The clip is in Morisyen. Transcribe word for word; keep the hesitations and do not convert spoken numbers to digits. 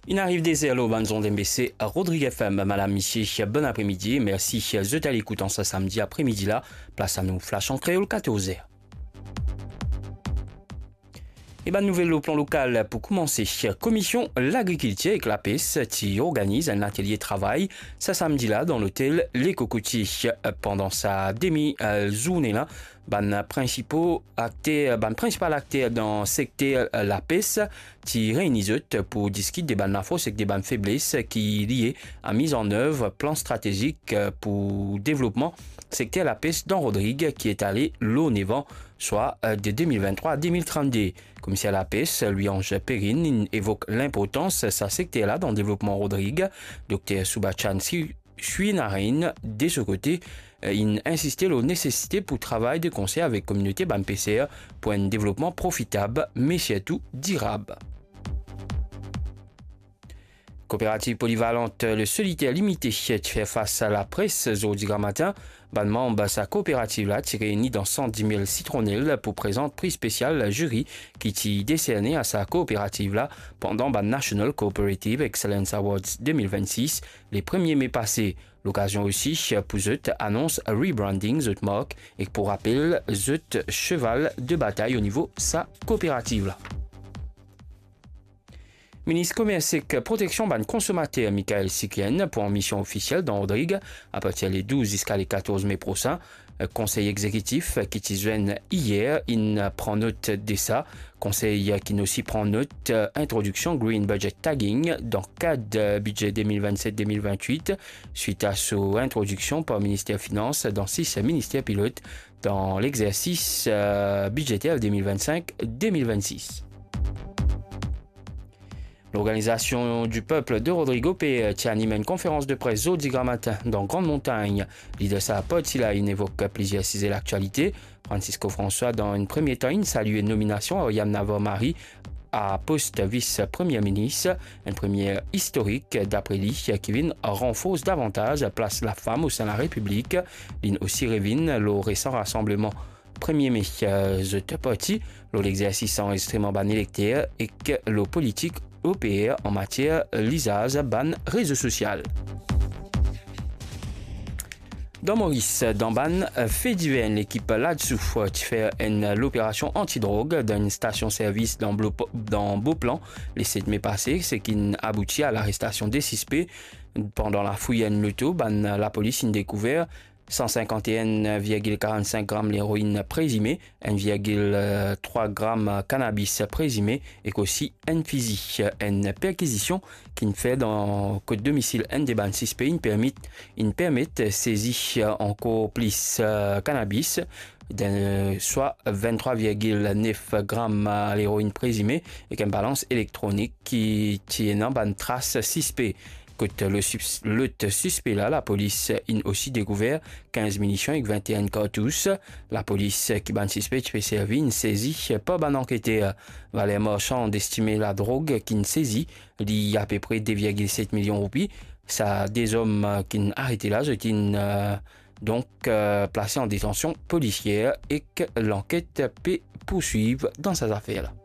Inn ariv de zer lor bann zond MBC Rodrig FM. Madam, misie, bon apremidi. Mersi zot alekout an sa samdi apremidi la. Plas anou flash an kreol, katorz zer. E bann nouvel lor plan lokal pou koumanse. Komision Lagrikiltir ek Lapes ti organiz enn atelie travay sa samdi la dan lotel Le Cocotier. Pandan sa demi, eh, zourne la, bann prinsipo akter, bann prinsipal akter dan sekter lapes ti reyni zot pou diskit de bann lafors ek de bann febles ki lie a miz an nev plan stratezik, eh, pou devlopman sekter lapes dan Rodrig ki etale lor nef an, swa, eh, de de mil venntrwa a de mil trannde. Komiser lapes, Louis-Ange Perrine, inn evok linportans sa sekter la dan devlopman Rodrig. Dokter Subachan Si-, Srinarein, de so kote, eh, inn insiste lor nesesite pou travay de konser avek kominote bann peser pou enn devlopman profitab, me sirtou dirab. Kooperativ polivalant Le Solitaire Limité ti fer fas a lapres zordi gramatin. Bann manm sa kooperativ la ti reyni dan sant Dimel Sitronel pou prezant pri spesial ziri ki ti deserne a sa kooperativ la pandan bann National Cooperative Excellence Awards de mil vennsis, le premie me pase. Lokazion osi pou zot anons rebranding zot mark ek pou rapel zot seval de batay o nivo sa kooperativ la. Minis Komers ek Proteksion bann Konsomater, Michaël Sikien, pou an mision ofisiel dan Rodrig apartir le douz ziska le katorz me prosin. Konsey Egzekitif ki ti zwenn iyer inn pran not de sa. Konsey ki inn osi pran not introdiksion Green Budget Tagging dan kad bidze de mil vennset de mil venntwit, swit a so introdiksion par Minister Finans dan sis minister pilot dan lexersis, eh, bidzeter de mil vennsink de mil vennsis. L'Organisation du Peuple de Rodrigo pe ti anim enn konferans de pres zordi gramatin dan Grann Montagn. Lider sa parti la inn evok plizier size laktialite. Francisco François, dan enn premie tan, inn salie nominasion Ariane Navarre Marie a post vis premie minis, enn premie istorik, dapre li, ki vinn ranfors davantaz plas lafam o sein Larepiblik. Linn osi revinn lor resan rasanbleman premie me, eh, zot parti, lor lexersis anrezistrman bann elekter ek lor politik O P R an matier lizaz bann rezo sosial. Dan Moris, dan bann, eh, fe diver, enn lekip ladsou, eh, ti fer enn loperasion antidrog dan enn stasion servis dan Blo-, dan Beauplan, le set me pase, seki inn abouti a larestasion de sispe. Pandan lafouy enn loto, bann lapolis inn dekouver san sinkant-e-enn virgil karannsink gram leroinn prezime, enn virgil trwa gram kanabis prezime ek osi enn fizi. Enn perkizision ki'nn fer dan kot domisil enn de bann sispe inn permet, inn permet sezi ankor plis, eh, kanabis, de, swa venntrwa virgil nef gram leroinn prezime ek enn balans elektronik ki ti ena bann tras sispe. Kot lo sis-, lot sispe la, lapolis inn osi dekouver kinz minision ek vennteen kartous. Lapolis ki bann sispe ti pe servi inn sezi par bann anketer. Valer marsan estime ladrog ki'nn sezi, li apepre de virgil set milion roupi. Sa de zom ki'nn arete la, zot inn, eh, donk, eh, plase an detansion polisier ek lanket pe pourswiv dan sa zafer la.